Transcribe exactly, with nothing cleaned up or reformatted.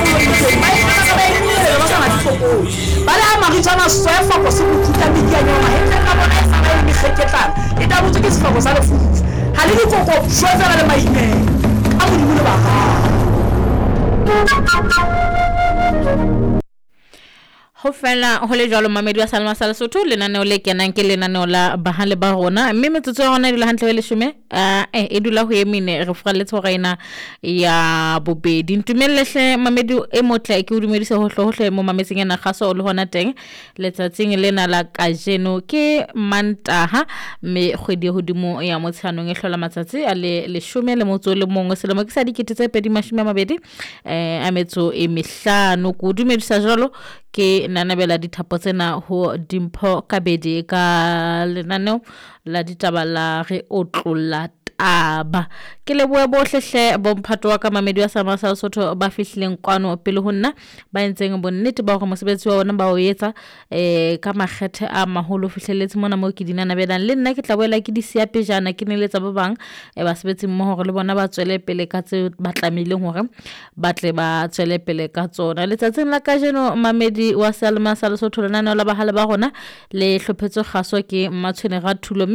Phula molomong ba e ka ba e nyele ba sa matlhoko. Ba le a maritsana swefa go se mothuta medianya mahetleng a bona e sa ba e mekgeketlana. E tabotswe ke sefako sa lefufa. Ha le dikoko shwefela le maimela. Ka Modimo le ba Ho fela ho le jwalo mamedi wa Salma sa Lesotho lenaneo le kenang ke lenaneo la bahale ba rona mme metsotso ya rona e dula hantle ho leshome eh e dula ho e mene re furaletse hora ena ya bobedi. Ntumelle hle mamedi e motle ke o dumedise hohle hohle mo mametseng ena kgaso le hona teng letsatsing lena la kajeno ke Mantaha mme kgwedi e hodimo ya Motsheanong e hlola matsatsi a le leshome le motso le mongwe selemo ke sa dikete tse pedi mashome a mabedi eh a metso e mehlano. Ke o dumedisa jwalo ke nanabela dithapo tsena ho Dimpho Kabedi ka lenaneo la ditaba la re otlolla taba. Ke lebohe bohle hle bomphato wa ka mamedi wa Salma sa Lesotho ba fihlileng kwano pele ho nna ba entseng bonnete ba hore mosebetsi wa bona ba o etsa eh ka makgethe a maholo fihlelletse mona moo ke di nanabelang. Le nna ke tla boela ke di siya pejana ke neletsa ba bang eh basebetsi mmoho hore le bona ba tswele pele ka tse ba tlamehileng hore ba tle ba tswele pele ka tsona. Letsatsing la kajeno mamedi wa Salma sa Lesotho lenaneo la bahale ba rona le hlophetswe kgaso ke Mmatshwene Rathulo.